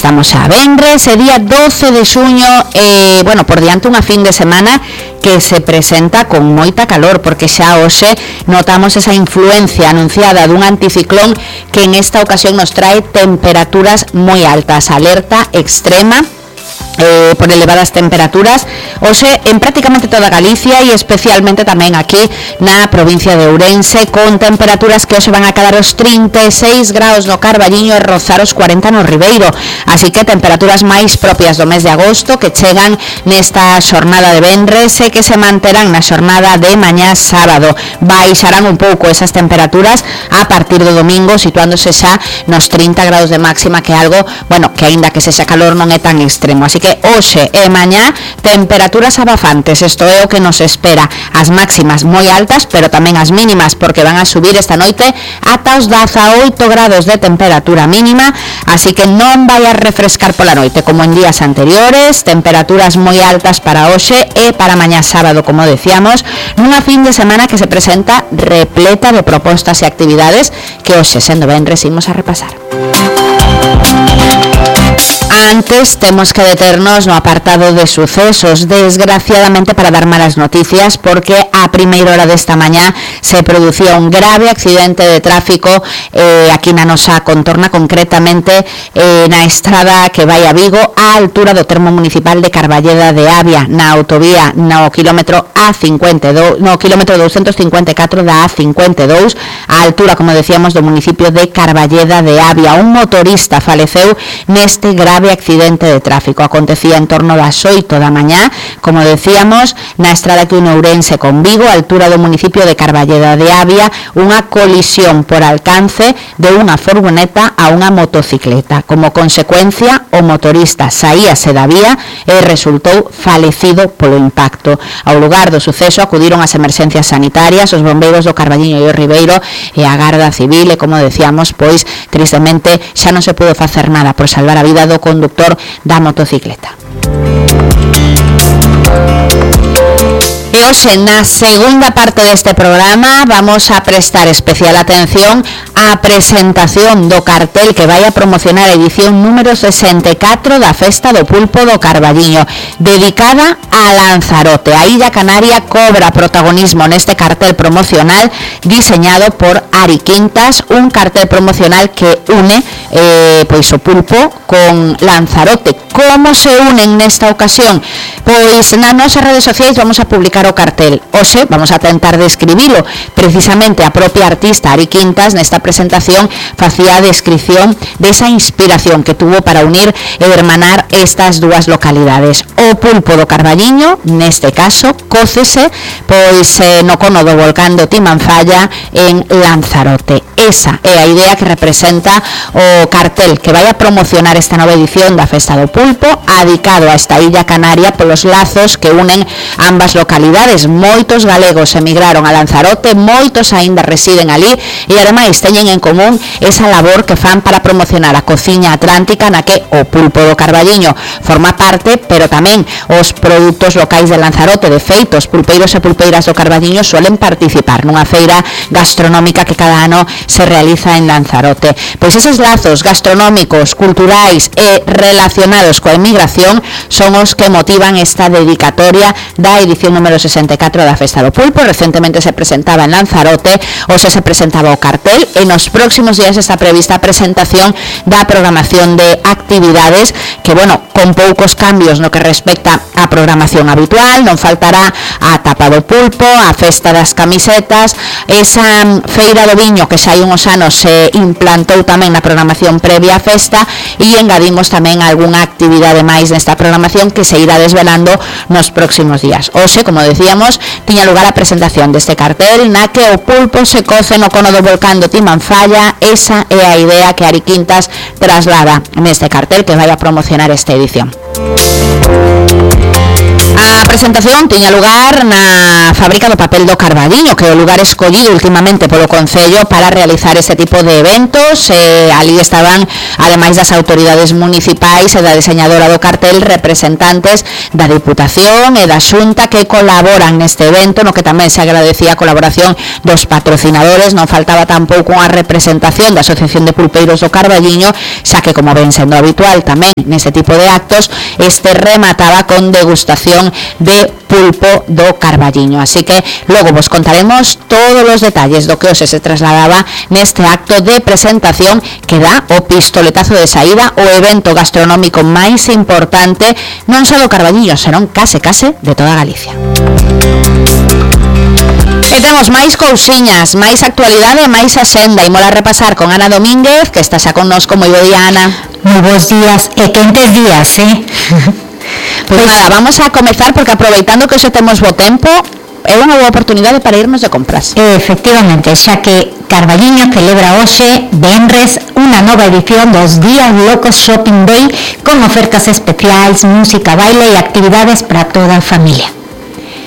estamos xa venres, día 12 de xuño, bueno, por diante unha fin de semana que se presenta con moita calor, porque xa hoxe notamos esa influencia anunciada dun anticiclón que en esta ocasión nos trae temperaturas moi altas, alerta extrema por elevadas temperaturas hoxe en prácticamente toda Galicia e especialmente tamén aquí na provincia de Ourense, con temperaturas que hoxe van a quedar os 36 graus no Carballiño e rozar os 40 no Ribeiro, así que temperaturas máis propias do mes de agosto que chegan nesta xornada de venres e que se manterán na xornada de mañá sábado. Baixarán un pouco esas temperaturas a partir do domingo, situándose xa nos 30 graus de máxima, que é algo, bueno, que aínda que sexa calor non é tan extremo, así que hoxe e mañá temperaturas abafantes, isto é o que nos espera, as máximas moi altas, pero tamén as mínimas, porque van a subir esta noite ata os 18 grados de temperatura mínima, así que non vai a refrescar pola noite como en días anteriores. Temperaturas moi altas para hoxe e para mañá sábado, como decíamos, nunha fin de semana que se presenta repleta de propostas e actividades que hoxe, sendo venres, imos a repasar. Antes temos que deternos no apartado de sucesos, desgraciadamente para dar malas noticias, porque a primeira hora desta mañá se producía un grave accidente de tráfico aquí na nosa contorna, concretamente na estrada que vai a Vigo, á altura do termo municipal de Carballeda de Avia, na autovía no quilómetro A52, no quilómetro 254 da A52, á altura, como decíamos, do municipio de Carballeda de Avia. Un motorista faleceu neste grave accidente de tráfico. Acontecía en torno das 8 da mañá, como decíamos, na estrada que une Ourense con Vigo, a altura do municipio de Carballeda de Avia, unha colisión por alcance de unha furgoneta a unha motocicleta. Como consecuencia, o motorista saíase da vía e resultou falecido polo impacto. Ao lugar do suceso acudiron as emerxencias sanitarias, os bombeiros do Carballiño e o Ribeiro e a Garda Civil, e como decíamos, pois, tristemente, xa non se pudo facer nada por salvar a vida do conductor da motocicleta. E hoxe, na segunda parte deste programa, vamos a prestar especial atención á presentación do cartel que vai a promocionar a edición número 64 da Festa do Pulpo do Carballiño, dedicada a Lanzarote. A Illa Canaria cobra protagonismo neste cartel promocional diseñado por Ari Quintas, un cartel promocional que une pois o pulpo con Lanzarote. Como se unen nesta ocasión? Pois nas nosas redes sociais vamos a publicar o cartel. Hoxe vamos a tentar describilo. Precisamente a propia artista Ari Quintas nesta presentación facía a descripción desa inspiración que tuvo para unir e hermanar estas dúas localidades. O pulpo do Carballiño, neste caso, cócese pois no cono do volcán do Timanfaya en Lanzarote. Esa é a idea que representa o cartel que vai a promocionar esta nova edición da Festa do Pulpo, adicado a esta Illa Canaria polos lazos que unen ambas localidades. Moitos galegos emigraron a Lanzarote, moitos aínda residen ali e ademais teñen en común esa labor que fan para promocionar a cociña atlántica na que o pulpo do Carballiño forma parte, pero tamén os produtos locais de Lanzarote. De feito, os pulpeiros e pulpeiras do Carballiño suelen participar nunha feira gastronómica que cada ano se realiza en Lanzarote. Pois eses lazos gastronómicos, culturais e relacionados coa emigración son os que motivan esta dedicatoria da edición número 64 da Festa do Pulpo. Recentemente se presentaba en Lanzarote, hoxe se presentaba o cartel e nos próximos días está prevista a presentación da programación de actividades que, bueno, con poucos cambios no que respecta á programación habitual. Non faltará a tapa do pulpo, a festa das camisetas, esa feira do viño que xa hai unhos anos se implantou tamén na programación previa á festa, e engadimos tamén algunha actividade máis nesta programación que se irá desvelando nos próximos días. Hoxe, como decíamos, tiña lugar a presentación deste cartel na que o pulpo se coce no cono do volcán do Timanfaya. Esa é a idea que Ari Quintas traslada neste cartel que vai a promocionar esta edición. A presentación tiña lugar na fábrica do papel do Carballiño, que é o lugar escollido últimamente polo Concello para realizar este tipo de eventos. Ali estaban, ademais das autoridades municipais e da diseñadora do cartel, representantes da Diputación e da Xunta que colaboran neste evento, no que tamén se agradecía a colaboración dos patrocinadores. Non faltaba tampouco unha representación da Asociación de Pulpeiros do Carballiño, xa que, como ven sendo habitual tamén neste tipo de actos, este remataba con degustación de pulpo do Carballiño. Así que logo vos contaremos todos os detalles do que hoxe se trasladaba neste acto de presentación que dá o pistoletazo de saída o evento gastronómico máis importante non só do Carballiño, senón case de toda Galicia. E temos máis cousiñas, máis actualidade, máis axenda. Imos a repasar con Ana Domínguez, que está xa connosco. Moi bo día, Ana. Moi bons días e quentes días, Pois nada, vamos a comezar porque aproveitando que hoxe temos bo tempo, é unha boa oportunidade para irnos de compras. Efectivamente, xa que Carballiño celebra hoxe, venres, unha nova edición dos Días Locos Shopping Day con ofertas especiais, música, baile e actividades para toda a familia.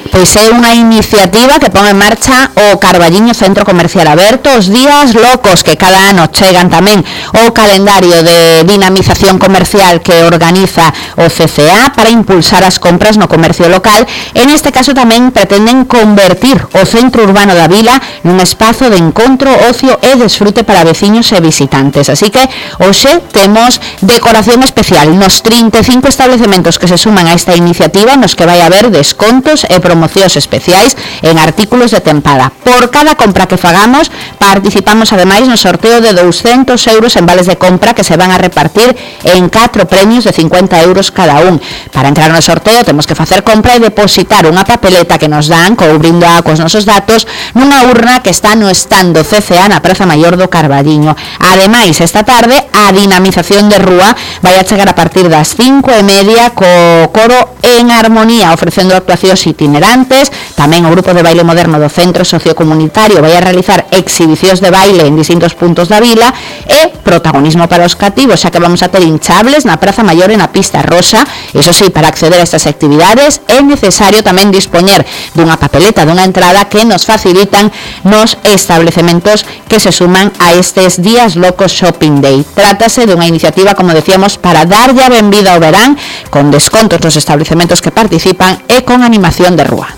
Pois é unha iniciativa que pon en marcha o Carballiño Centro Comercial Aberto, os Días Locos, que cada ano chegan tamén o calendario de dinamización comercial que organiza o CCA para impulsar as compras no comercio local. En este caso tamén pretenden convertir o centro urbano da vila nun espazo de encontro, ocio e desfrute para veciños e visitantes. Así que hoxe temos decoración especial nos 35 establecementos que se suman a esta iniciativa, nos que vai haber descontos e promocións especiais en artículos de tempada. Por cada compra que fagamos, participamos ademais no sorteo de 200 euros en vales de compra que se van a repartir en 4 premios de 50 euros cada un. Para entrar no sorteo temos que facer compra e depositar unha papeleta que nos dan, cubrindo cos nosos datos, nunha urna que está no stand do CCA na Praza Maior do Carballiño. Ademais, esta tarde, a dinamización de rúa vai a chegar a partir das 5:30 co coro En Armonía, ofrecendo actuacións itinerantes. Tamén o grupo de baile moderno do Centro Sociocomunitario vai a realizar exhibicións de baile en distintos puntos da vila e protagonismo para os cativos, xa que vamos a ter hinchables na Praza Maior e na Pista Rosa. Iso sí, para acceder a estas actividades é necesario tamén dispoñer dunha papeleta, dunha entrada que nos facilitan nos establecementos que se suman a estes Días Locos Shopping Day. Trátase dunha iniciativa, como decíamos, para darlle a benvida ao verán, con descontos nos establecementos que participan e con animación de rúa.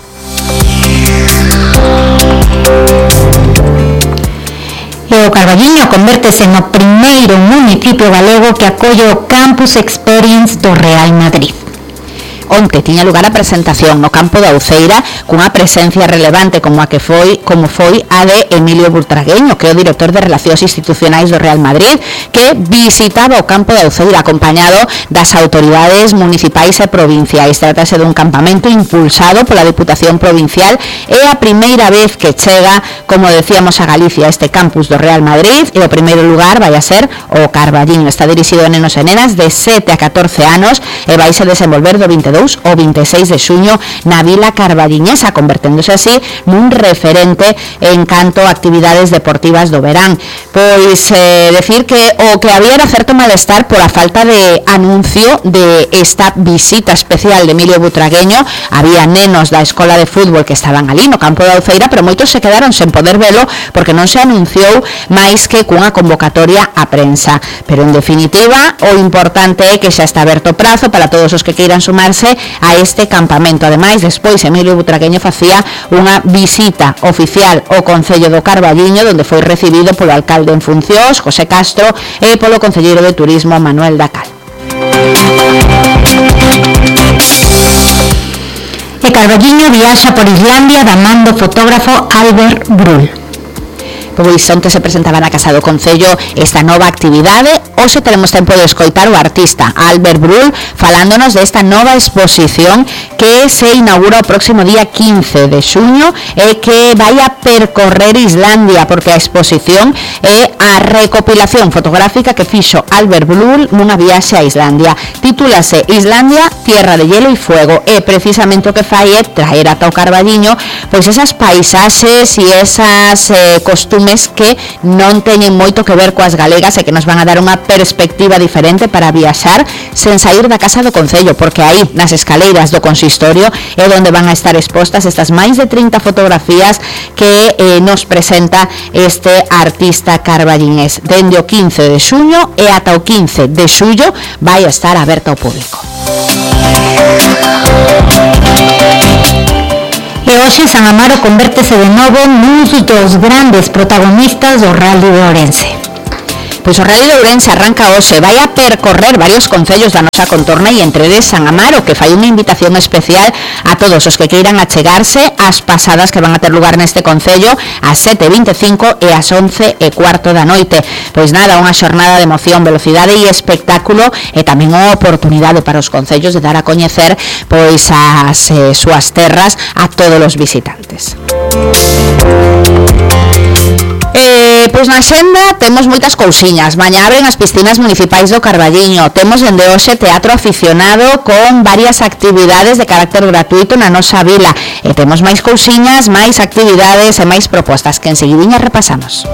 E o Carballiño convértese no primeiro municipio galego que acolle o Campus Experience do Real Madrid. Onte tiña lugar a presentación no campo da Uceira cunha presencia relevante como foi a de Emilio Butragueño, que é o director de Relacións Institucionais do Real Madrid, que visitaba o campo da Uceira acompañado das autoridades municipais e provinciais. Trátase dun campamento impulsado pola Diputación Provincial. É a primeira vez que chega, como decíamos, a Galicia este campus do Real Madrid, e o primeiro lugar vai a ser o Carballiño. Está dirixido a nenos e nenas de 7 a 14 anos e vai se desenvolver do 22 o 26 de xuño na Vila Carballiñesa, converténdose así nun referente en canto a actividades deportivas do verán. Pois decir que o que había era certo malestar por a falta de anuncio de esta visita especial de Emilio Butragueño. Había nenos da escola de fútbol que estaban ali no campo da Uceira, pero moitos se quedaron sen poder velo porque non se anunciou máis que cunha convocatoria á prensa. Pero en definitiva, o importante é que xa está aberto prazo para todos os que queiran sumarse a este campamento. Ademais, despois Emilio Butragueño facía unha visita oficial ao Concello do Carballiño, onde foi recibido polo alcalde en funcións, José Castro, e polo concelleiro de Turismo, Manuel Dacal. E Carballiño viaxa por Islandia da man do fotógrafo Albert Brull. Pois onte se presentaba na Casa do Concello esta nova actividade. Hoxe teremos tempo de escoitar o artista Albert Brull falándonos desta nova exposición que se inaugura o próximo día 15 de xuño e que vai a percorrer Islandia, porque a exposición é a recopilación fotográfica que fixo Albert Brull nunha viaxe a Islandia. Titúlase Islandia, Tierra de Hielo e Fuego, e precisamente o que fai é traer ata o Carballiño pois esas paisaxes e esas costumes que non teñen moito que ver coas galegas e que nos van a dar unha perspectiva diferente para viaxar sen sair da casa do Concello, porque aí nas escaleiras do consistorio é onde van a estar expostas estas máis de 30 fotografías que nos presenta este artista carballinés. Dende o 15 de xuño e ata o 15 de xullo vai estar aberta ao público. E hoxe San Amaro convértese de novo nuns dos grandes protagonistas do Rally de Ourense. Pois o Rally de Ourense arranca hoxe, vai a percorrer varios concellos da nosa contorna e entre eles San Amaro, que fai unha invitación especial a todos os que queiran achegarse ás pasadas que van a ter lugar neste concello ás 7:25 e ás 11:15 da noite. Pois nada, unha xornada de emoción, velocidade e espectáculo e tamén unha oportunidade para os concellos de dar a coñecer pois as súas terras a todos os visitantes. Pois na xenda temos moitas cousiñas. Mañá abren as piscinas municipais do Carballiño. Temos dende hoxe teatro aficionado con varias actividades de carácter gratuito na nosa vila. E temos máis cousiñas, máis actividades e máis propostas que enseguidinha repasamos.